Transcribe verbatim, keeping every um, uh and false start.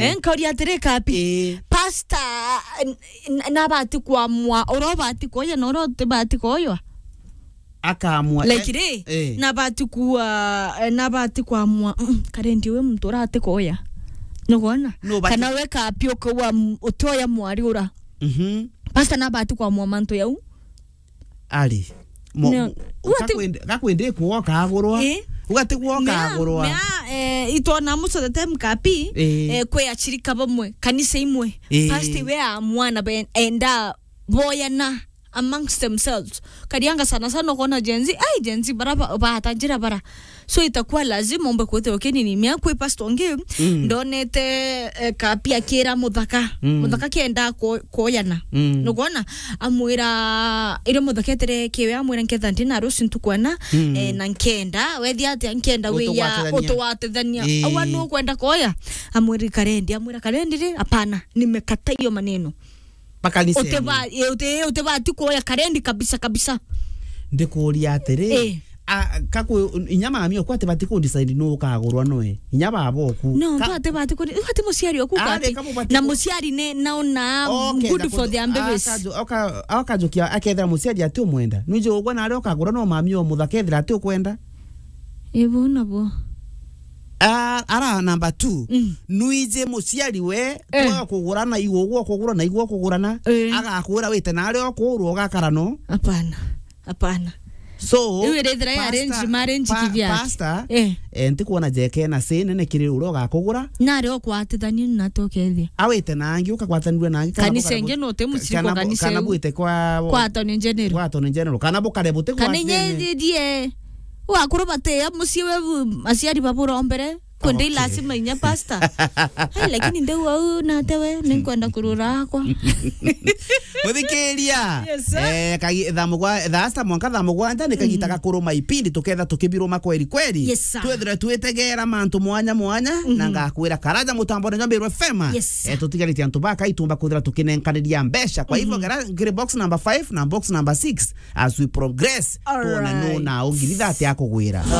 Eh, nkauria atiri, Kapi, eh, pastor, n-, n-, nabati kwamua uria ubati kuoya na uria utibati kuoywa? Akamua, like, eh, ri, eh, nabati kua, eh, nabati kwamua, mm, Karendi, wi muntu urati kuoya. Nugwona? Nubati- Kana we Kapi ukauga, mm, utioya mwari ura. Mhm. Pastor nabati kwamua mantu jau. Ari. Mo-, no. Mu-, ugati- gakwende-, gakwende kuoka agurwa. Eh? Ugati kuoka agurwa. Mea, mea, eh, itwona muco the time Kapi, eh, eh, kwe achirika bamwe, kanisa imwe. Eh. Pastor we amua na ben-, enda boyana amongst themselves. Karianga sana sana ukona Gen Z, ai, Gen Z bara ba-, bata njira bara. So itakuwa lazima umbe kwithirwa ukinini. Mea kwi pastor ungi, mm, ndonete, eh, Kapi akira muthaka. Mm. Muthaka kienda ku-, kuoyana. Mm. Nugwona? Amwira, irio muthaka etere kiwe, amwira, nketha ndina ruci ntukwena, mm, eh, na nkenda, wethia atia nkenda wiya utugwatithania. Utugwatithania. Ii. Awa nukwenda kuoya? Amwira Karendi, amwira Karendi ri, hapana, nimekataa hiyo maneno. Makanisa. Uteba-, ii, ute-, utebati kuoya Karendi kabisa, kabisa. Ndikuria atiri, eh, a, kaku, inya mami okwa atebati ku decide nu ukagurwa noe. Inya baba oku. No, ka- tu atebati ku, ati muciari oku. Ah, Kapi. Reka mubati na ku- muciari ne, naona, okay, good for their babies. Akaju-, oka-, okajukia akethira muciari ati umwenda. Nwiji ugwa na aria ukagurwa no mami o muthaka ethira ati ukwenda. Ibu nabo. Ah, ara number two. Mm. Nwiji muciari we, eh, twa kugurana, igwe ugwe ukugurana, igwe ukugurana, eh, agakwira wite na aria ukurwa ugakara no? Hapana. Hapana. So, iu irithira ya arrange marriage pa-, kivyake. Pastor, eh, eh, ntikwona jeke na si nene kiri uria ugakugura. Na aria ukwatithania na to kethia. Awite na angi, ukagwatanirua na angi, kana kanisa ingi no te muciri kana kwa bu-, kanisa kana iu. Bwite kwa, kwa Attorney General. Kwa Attorney General. Kana bukare buti kwa kana inye thine. Ndidie. Wakuru batia mucii we bu-, aciari baburombere. Kundi, okay, lazima inya pastor. Ai, lakini ndeu au nate we, ninkwenda kurura akwa. Muthikiria. Yes, sir. Eh, kagi-, thaa mugwa-, thaa sita mwanka thaa mugwanja ni kagita, mhm, ga kuruma ipindi, tuketha tukibiruma kweri kweri. Yes, sir. Twethire twitegera mantu mwanya mwanya, mhm, na ngakwira karaja mutambone jwa Meru F M. Yes, sir. Eh, tutigaritie antu baka itumba kwithira tukinenkaniria mbeca. Kwa hivyo, mhm, ngera ngiri box number five na box number six as we progress. All right. Tuone nu na ungiri thate akugwira.